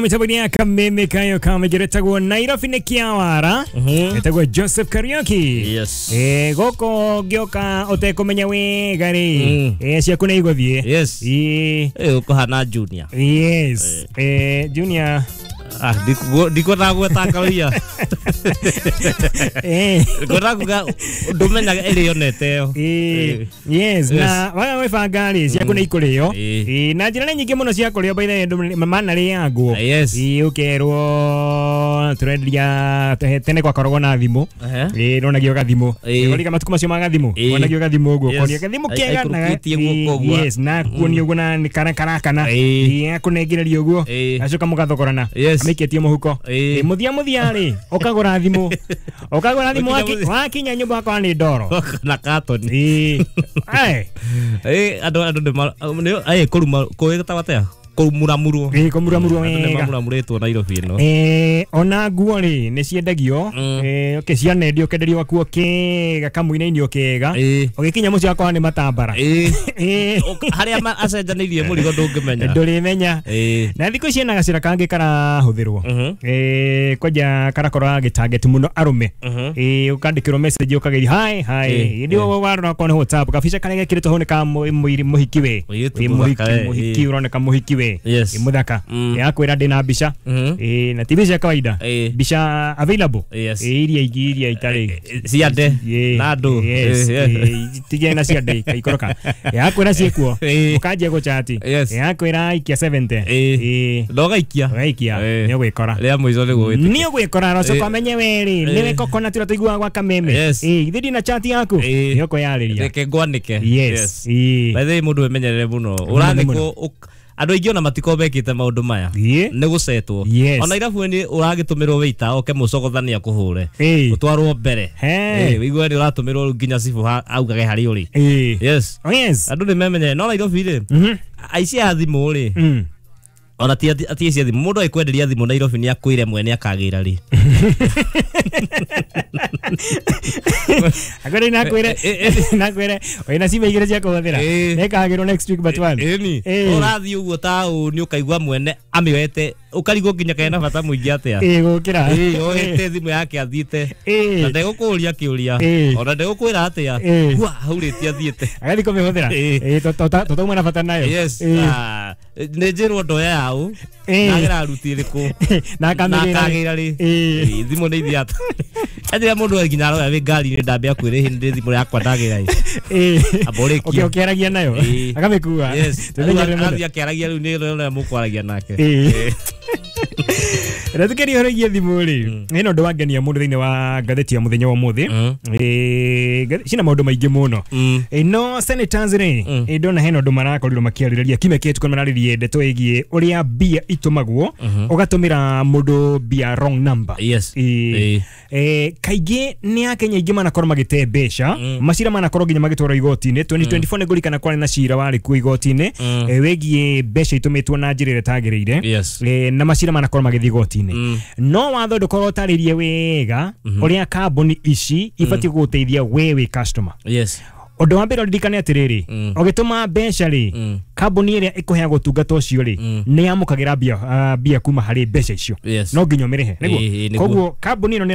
Mĩtambo-inĩ ya Kameme kayo kamĩgeretagwo Nairobi nĩ Kĩawara, etagwo Joseph Kariuki. Yes. Gũkũ ngĩũka ũtekũmenya wega rĩ, ciaku nĩ igũthiĩ. Yes. Ĩĩ. Ũkũhana Junior. Yes. Junior. Ah, ndikwendaga gweta karoia. Ngwendaga kuga ndũmenyaga ĩrĩa yonete ĩyo. Yes, na waga gwĩbanga rĩ, ciaku nĩ ikũrĩo. Na njĩra nĩ nyingĩ mũno cia kũrĩo, by the way, andũ manarĩangwo. Ũkerwo tũrenderia tene gwakoragwo na thimũ. Nonagio gathimũ. Ũrika matukũ macio ma gathimũ. Wonagio gathimũ ũguo. Ũkonio gathimũ kega na Aikũrũkĩtie guoko ũguo. Yes, na kuonio ũguo na nĩ karakana. Akũnengereria ũguo. Acoka mũgathogorana. Amĩikĩtie mũhuko. Mũthia mũthia rĩ, ũkagũra thimũ. Ũkagũra thimũ Ũkinya mũthia. wakinya nyũmba wakwa nĩ ndoro. Na katoni. Ai. Andũ nĩ kũruma kũĩtagwo atĩa? Kũmuramurwo. Kũmuramurwo Andũ nĩ wega. mamuramurĩtwo Nairobi ĩno. Ona nguo rĩ nĩ ciendagio. Okay, cianendio ũkenderio gakuo kega kamũinainio kega. Ũgĩkinya mũciĩ wakwa nĩ matambara. Harĩa acenjanĩirie mũrigo ndũngĩmenya. Ndũrĩmenya. Na thikũ ici ena gacĩra kangĩ karahũthĩrwo. Kwanja karakorwo gagĩtarget mũno arũme. Ũkandĩkĩrwo message ũkageria hi hi. Hĩndĩ ĩyo warora okorwo nĩ WhatsApp gabica karĩa gekĩrĩtwo hau nĩ ka mũhiki we. Mũirĩtu Mũhiki, mũthaka, mũhiki ũroneka mũhiki we. Mũthaka. Akwĩra ndĩna mbica. Na ti mbica ya kawaida. Mbica available. Iria ingĩ iria itarĩ. Ciande. Na andũ. Yes. Tigĩa na ciande ikaikũrũka. Akwĩra ciĩkuo. Ũkanjia gũchati. Akwĩra aikia 70. Na ũgaikia. Ũgaikia. Nĩ ũgwĩkora. Rĩa mũico nĩguo wĩtĩkie. Nĩ ũgwĩkora rocoka ũmenye we rĩ, nĩwe coconut ũrĩa tũiguaga gwa Kameme. Githĩ ndina chat yaku? Nĩ ũkwĩyarĩria. Reke ngwanĩke. Yes. By the way, mũndũ emenyerere mũno. Ũrathiĩ Mũno. Andũ aingĩ ona matikoragwo mekĩte maũndũ maya. Nĩ gũcetwo. Ona irabu-inĩ ũragĩtũmĩrwo waiter oke mũcogothania akũhũre. Ũtwarwo mbere. Ũigue nĩ ũratũmĩrwo rĩu nginya cibũ augage harĩa ũrĩ. Yes. Oh, yes. Andũ nĩ memenyere. No Nairobi rĩ, aici a thimũ rĩ, ona ti aici a thimũ, mũndũ agĩkwenderia thimũ Nairobi nĩ akwĩre mwene akagĩra rĩ. Akwĩre nakwĩre, nakwĩre, wĩna cibe igĩrĩ cia kũhũthĩra. Nĩkagĩrwo next week but one. Ĩni. Ũrathiĩ ũguo ta ũũ nĩ ũkaigua mwene amĩoete, ũkarigwo nginya kana ena bata mũingĩ atĩa. Gũkĩra. Oete thimũ yake athiĩte. Na ndegũkũũria kĩũria. Ona ndegũkwĩra atĩa. Hua, haurĩtie athiĩte. Agathiĩ kũmĩhũthĩra. Tũtauma na bata nayo. Yes. Nĩ njĩrwo ndoya yaũ. Nagera ruti ĩrĩkũ. Na akamĩgĩra rĩ. Na akagĩra rĩ. Thimũ nĩ ithiĩ atĩa. Mũndũ nginya aroya wĩ ngari-inĩ ndambia kwĩrĩhĩ nĩ thimũ yakwa ndagĩra ĩ. Amba ũrĩkie. Ũkĩaragia nayo. Akamĩkua. Yes. Tũmenyerere mũno. Arathiĩ akĩaragia rĩu nĩ ũrĩa mũkwaragia nake. Reke ũhoro wĩgiĩ thimũ rĩ, hena ũndũ wangenia mũno thĩinĩ wa ngathĩti ya mũthenya wa ũmũthĩ. Cina maũndũ maingĩ mũno. No senators rĩ, ndona hena ũndũ marakorirwo makĩarĩrĩria kiumia kĩhĩtũku, mararĩrĩrie ndeto ĩgiĩ ũrĩa mbia itũmagwo, ũgatũmĩra mũndũ mbia wrong number. Yes. Kaingĩ nĩ Akenya aingĩ manakorwo magĩte mbeca, macira manakorwo nginya magĩtwarwo igoti-inĩ. 2024 nĩ ngũririkana kwarĩ na cira warĩ kuo igoti-inĩ, wĩgiĩ mbeca itũmĩtwo na njĩra ĩrĩa ĩtagĩrĩire. Na macira manakorwo magĩthiĩ igoti-inĩ. No watho ndũkorwo ũtarĩrie wega ũrĩa kambuni ici ibatiĩ gũgũteithia we wĩ customer. Ũndũ wa mbere ũririkane atĩrĩrĩ, ũgĩtũma mbeca rĩ, kambuni ĩrĩa ĩkũheaga ũtungata ũcio rĩ, nĩ yamũkagĩra mbia kuma harĩ mbeca icio. No nginya ũmĩrĩhe, nĩguo? Nĩguo. Koguo kambuni ĩno nĩ